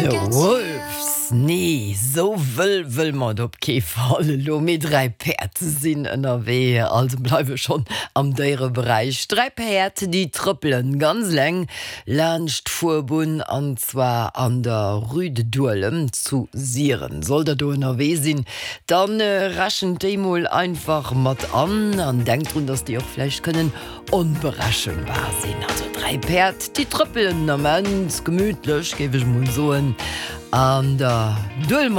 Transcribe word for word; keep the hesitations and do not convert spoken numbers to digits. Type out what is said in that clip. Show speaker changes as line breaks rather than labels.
The Wolves, nee, sou wëll wëlle mer op kee Fall elo, mee dräi Päerd sinn ënnerwee, also bleiwe schonn am Déiereberäich. Dräi Päerd, déi trëppelen ganz eleng laanscht d'Fuerbunn an zwar an der Rue de Duelem zu Siren. Sollt der do ënnerwee sinn, dann rechent déi mol einfach mat an an denkt drun, dass déi och vläicht kënnen onberechenbar sinn. Also dräi Päerd, déi trëppelen am Ament gemütlech, géif ech mol soen, an der Duelemer